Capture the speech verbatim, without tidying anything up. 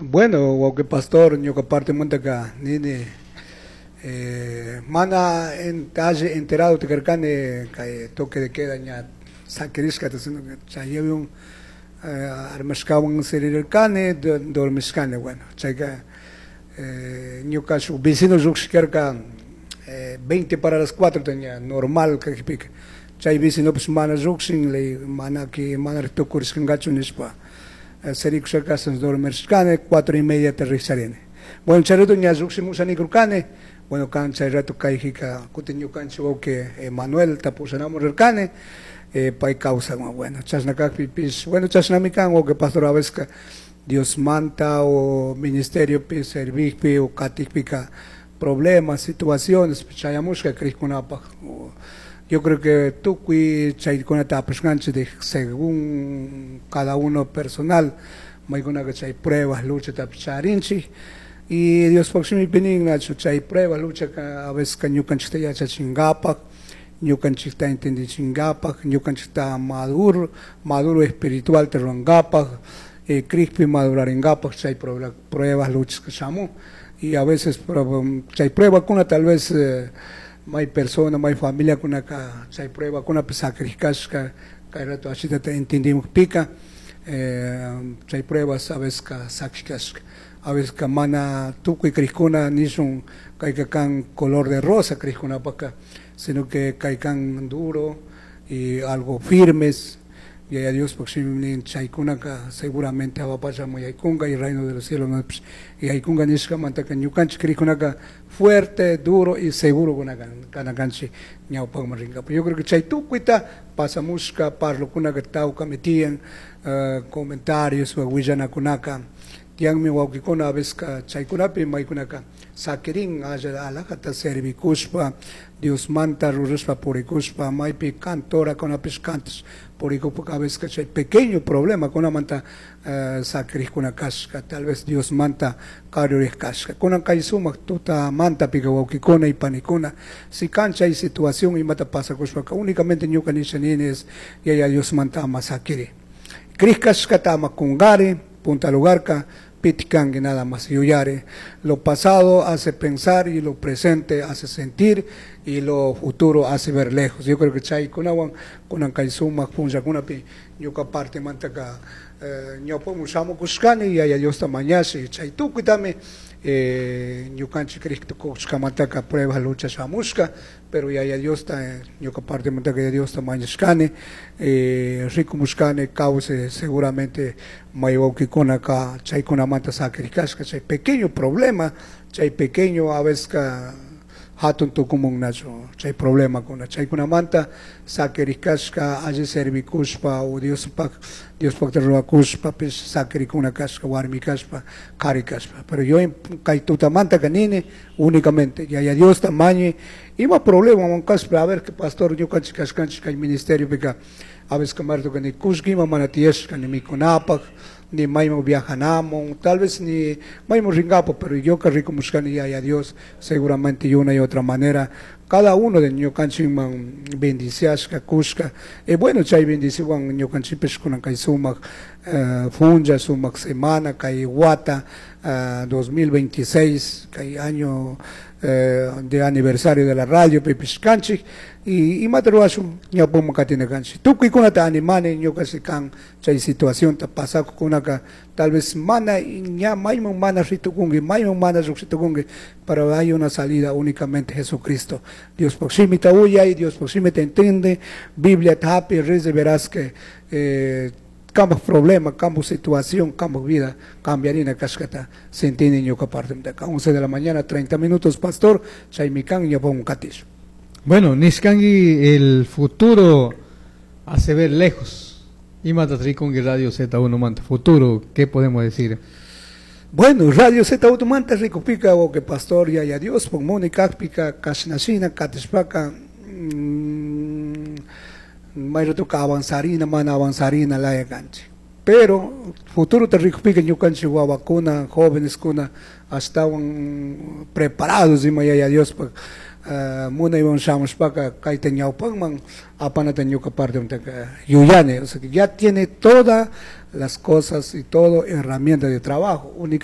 Bueno, wawqi pastor, ñuka partemantaka nini eh, mana alli enterado tikarkani kay toque de queda ña sakirishkata, sino que chaywan eh, armashkawan sirirkani, dormishkani. Bueno, chayka eh, ñuka shuk vecino llukshkarka eh, veinte para las cuatro tenía normal kajpika, chay vecino pues mana llukshin, le mana ki mana tukurishkankachu nishpa sirikushaka, dormirshkani, cuatro y media te rikcharini. Bueno, chay rato ña llukshimusha nikurkani. Bueno, kan chay rato kayjika kutin ñukanchik wawqi Manuel tapushanamun rirkani, eh, pay kawsan. Bueno, chashna kakpipish, bueno, chashnami kan, wawqi pastor, a veces Dios manta o ministeriopi servikpi o katikpika problemas, situaciones chayamushka krikkunapaj. Yo creo que tukuy chaykunata apashkanchik de según cada uno personal, maykunaka chay pruebas, lucha charinchik y Diospaj shimipi nin, nachu, chay prueba, lucha a veces ka ñukanchikta yachachinkapak, ñukanchikta entendichinkapak, ñukanchikta maduro, maduro espiritual te rurankapak, eh, krikpi madurarinkapak chay pruebas, luchas que shamun. Y a veces chay pruebakuna tal vez eh, may persona, may familia kunaka chay pruebakuna sacrificashka kay rato ashitata entendimukpika, eh, chay pruebas a veces ka sakishkashka, a veces ka mana tukuy krikuna nishun kayka kan color de rosa krikkunapaka, sino que kay kan duro y algo firmes. Y a Dios nin chaykunaka seguramente awapachamun yaykunka y reino de los cielos y yaykunka nishkamantaka ñukanchik krikkunaka fuerte, duro y seguro kana kanchik ñawpakman rinkapak. Yo creo que chay tukuyta pasamushka parlokunaka tawkami tiyan, uh, comentarios willanakunaka tiyanmi wawkikuna, a veces chaykunapi maykunaka sakirin alla alajata servikushpa, Diosmanta rurashpa purikushpa, maypi cantorakunapish cantash purikushpa, a veces chay pequeño problema kunamanta uh, sakirikuna kashka, tal vez Diosmanta karuriq kashka. Kunan kay sumak tutamantapika, wawkikuna y panikuna, si kan chay situación imata pasakushpaka, únicamente ñuka nisha nini es yaya Diosmanta ama sakiri, krik kashkata ama kunkari. Punta lugarka pitikanki nada más yuyari. Lo pasado hace pensar y lo presente hace sentir y lo futuro hace ver lejos. Yo creo que chay kunawan kunan kay sumak punllakunapi ñuka partemantaka eh, ñawpamun shamukushkani, yaya Diosta mañashi chay tukuytami eh, ñukanchik krik tukushkamantaka prueba, lucha shamushka, pero yaya Diosta, eh, ñuka partemantaka yaya Diosta mañashkani, eh, rikumushkani kawsay seguramente may wawkikunaka chaykunamanta sakirikashka chay pequeño problema, chay pequeño a veces ka hatun tukumun, nachu, chay problemakuna chaykunamanta sakirikashka alli servikushpa o Diospak Diospakta rurakushpapish sakirikuna kashka, warmi kashpa, kari kashpa. Pero yo kay tutamantaka nini únicamente yaya Diosta mañi ima problema kashpa. A ver, que pastor, ñukanchik kashkanchik kay ministeriopika, a veces kamartuka ni kullkima mana tiyashka ni mikunapak ni mayman viajanamun, tal vez ni mayman rinkapak, pero yo que rikumushkani yaya Dios seguramente y una y otra manera cada uno de ñukanchikman bendiciashka kushka. Y bueno, chay bendicionwan ñukanchikpish kunan kay sumak uh, funcha, sumak semana, kay wata uh, dos mil veintiséis, kay año uh, de aniversario de la radio pipish kanchik y imata ruwashun ñawpaman katina kanchik. Tukuykunata animani ñuka, si kan chay situacionta pasakukunaka, tal vez mana ña mayman mana ritukunki, mayman mana lluqshitukunki, pero hay una salida, únicamente Jesucristo. Diospaj shimita uyay, Diospaj shimita entiende, Biblia hapi, rezi, verás que eh, kambaj problema, kambaj situación, kambaj vida cambiarina kashkata sentini ñuka parte. once de la mañana, treinta minutos, pastor, chaymi kan, ñawpaman katish. Bueno, nishkanki el futuro hace ver lejos. Imata rikunki Radio Z uno manta. Futuro, ¿qué podemos decir? Bueno, Radio Z uno manta rikupika o que pastor, yaya Dios, pon Mónica pika kashnashina katishpaka mmm, mayratuka avanzarina mana avanzarina laya kanchik. Pero futuro te rikupika ñukanchik wawakuna, jóvenes kuna ashtawan preparados ima yaya Dios pa uh, munaywan shamushpaka kayta ñawpakman apanata ñuka parte yuyani. O sea que ya tiene todas las cosas y todo herramienta de trabajo únicamente.